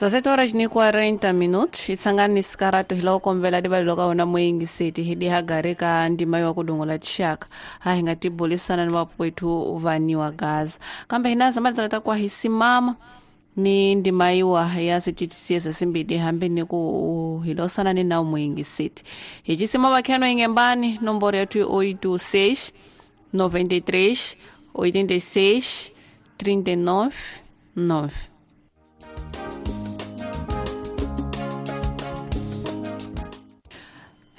17 horas ni 40 minutos itsangani sikarato hilawo kombela dibalelo ka wona moyingiseti hi dihagare ka ndima yo kudongola tixaka a hi nga tibulisana ni vapwethu vaniwa gaza kambe hina zamalizana ta kwa hi simama ni ndima yiwa ya sititisiesa simbidi hambi ni ku hilosana ni nawu moyingiseti hi cisima vakheno ingembani nomboro yathu i 86 93 86 39 9.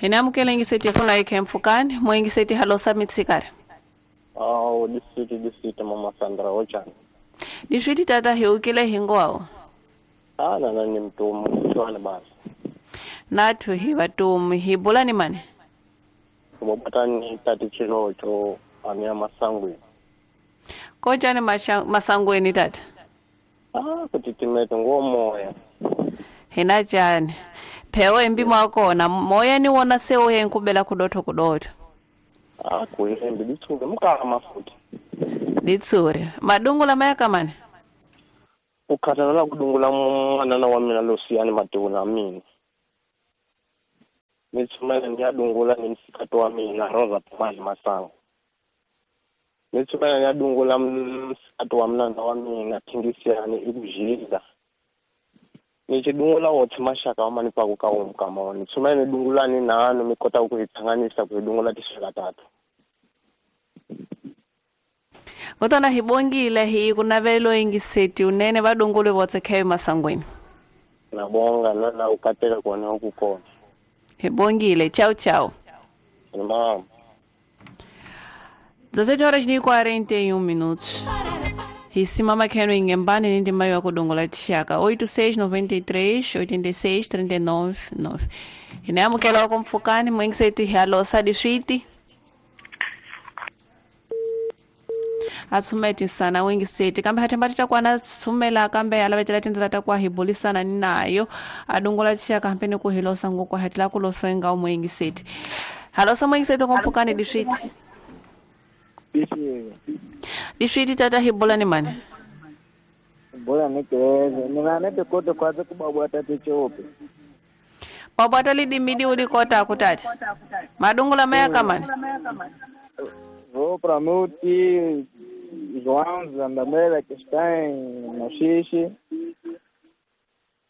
Hina amukela ingiseti funa ikhempfukani moyingiseti halosa mitsikari. Awu disiti mama Sandra ochani. Diswiti tata hiukile hingwawo. Ana nani mtumu chwana basi. Nathu hi vatumu hi bulani mani. Bobatani tati chilocho amia masangwe. Kochani masangweni tata? Ah kutitimete ngomoya. Hina chani. Phewo embimo akona moya ni wona sewo yenkubela kudotho kudotho. Ah kuihembe ditsuke mukama futhi. Ditsure madungula mayakamani. Ukhathala kudungula mwana wa mina losiyani maduna mina. Nitsumela ngiyadungula nemsikhathi wa mina Rosa Pamali Masango. Nitsumela ngiyadungula msikhathi wa mina wa mina Thingisiyani ikujila. Nichidungula wothi mashaka wamani pakuka umkama nitsumela nidungulani nano mikota ukuzithanganisa kudungula tishaka tatu. Kotana hibongile hi kunavelo ingiseti unene vadungule votse khayo masangweni. Nabonga nana ukateka kona ukukona. Hibongile ciao ciao. Mama. 17 horas e 41 minutos. Hisimama kheno ingembani ni ndima yo kudongola tshaka 86 93 86 39 9. Inamukela komfukani mwingiseti halosa diswiti. Atsumeti sana wengiseti kambe hathemba takwana tsumela kambe alavetela tindzela ta kwa hibulisana ni nayo adongola tshaka hambe ni ku hilosa ngoko hatla ku losenga umwengiseti halosa mwengiseti komphukani diswiti diswiti tata hibula ni mani bora nikeleze ninganete kote kwaze kubabwata tichope babwata lidimidi ulikota kutata madungula mayakamani. Vou para Muti, João Zandamela, que está em Machixe.